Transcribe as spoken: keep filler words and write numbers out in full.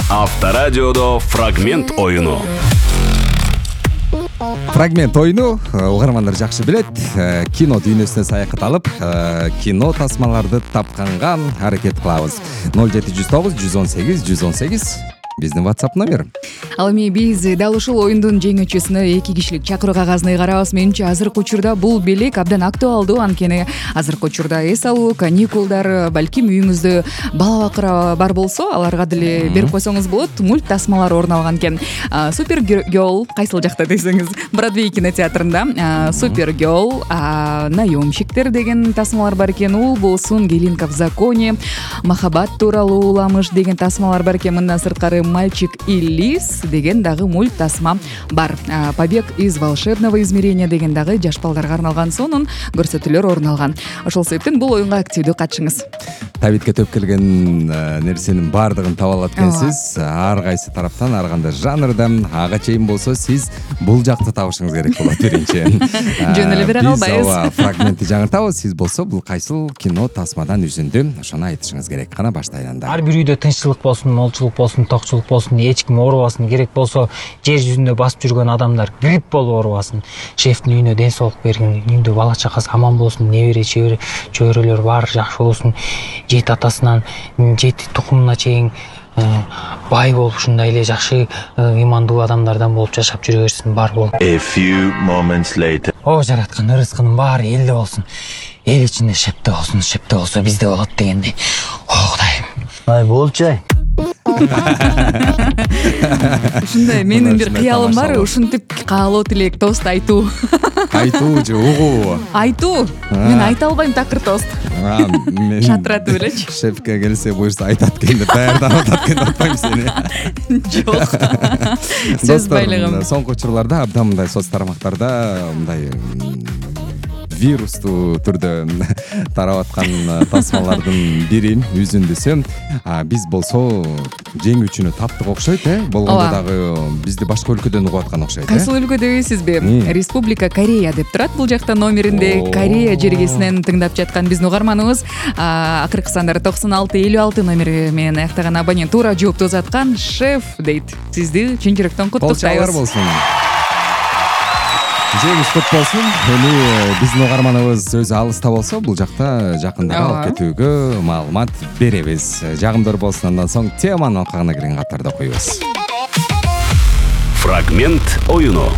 Авторадиодо фрагмент оюну. Фрагмент оюну угармандар жакшы билет. Кино дүйнөсүнө саякат алып, кино тасмаларды тапканга аракет кылабыз. ноль жети жүз тогуз жүз он сегиз жүз он сегиз биздин WhatsApp номер. Ал эми биз дал ушул оюндун жеңүүчүсүнө эки кишилик чакыруу кагазын ыйгарабыз. Менимче азыркы учурда бул белек абдан актуалдуу, анткени азыркы учурда эс алуу, каникулдар, балким үйүңүздө бала бакыра бар болсо, аларга деле берип койсоңуз болот. Мульт тасмалар орун алган экен. Супер Girl кайсыл жакта десеңиз, Бродвей кинотеатрында Супер Girl, наемщиктер деген тасмалар бар экен. Ул болсун Келинка в законе, махаббат тууралуу уламыш деген тасмалар бар экен. Мындан сырткары Мальчик и Лис деген дагы мульт тасма бар. Побег из волшебного измерения деген дагы жаш балдарга арналган сонун көрсөтүүлөр орун алган. Ошол себептен бул оюнга активдүү катышыңыз. Табитке төп келген нерсенин баардыгын таба алат экенсиз. Ар кайсы тараптан, ар кандай жанрда, ага чейин болсо сиз бул жакты табышыңыз керек болот биринчи. Жөн эле бере калбайбыз. Биз фрагментти жаңыртабыз, сиз болсо бул кайсыл кино тасмадан үзүндү, ошону айтышыңыз керек. Кана баштайланда. Ар бир үйдө тынччылык болсун, молчулук болсун, токчулук болсун, эч ким оорубасын, керек болсо жер жүзүндө басып жүргөн адамдар грипп болуп оорубасын. Шефтин үйүнө ден соолук бергин, үйүндө бала чакасы аман болсун, небере чөйрөлөр баары жакшы болсун. Жети атасынан жети тукумуна чейин бай болуп, ушундай эле жакшы ыймандуу адамдардан болуп жашап жүрө берсин, бар болуп. A few moments later. О, жараткан ырыскынын баары элде болсун. Эл ичинде шепте болсун, шепте болсо бизде болот дегендей. О, Кудайым. Ай, болчу. Ушундай менин бир кыялым бар, ушинтип каалоо тилек тост айтуу. Айтуу же угуу? Айтуу. Мен айта албайм такыр тост. Шатыратып элечи. Шефке келсе буюрса айтат экен деп даярданып атат экен, атпайм сени. Жок. Сөз байлыгым. Соңку учурларда абдан мындай соц тармактарда мындай вирустуу түрдө тарап аткан тасмалардын бири үзүндүсү. Биз болсо жеңүүчүнү таптык окшойт, э? Болгондо дагы бизди башка өлкөдөн угуп аткан окшойт. Кайсыл өлкө дебейсизби? Республика Корея деп турат бул жакта номеринде. Корея жергесинен тыңдап жаткан биздин угарманыбыз акыркы сандары токсон алты элүү алты номери менен аяктаган абонент туура жоопту узаткан шеф дейт. Сизди чын жүрөктөн куттуктайбыз. Кол болсун. Жеңиш кут болсун. Эми биздин угарманыбыз өзү алыста болсо, бул жакта жакындап алып кетүүгө маалымат беребиз. Жагымдуу болсун, андан соң теманын алкагына кирген каттарды окуйбуз. Фрагмент оюну.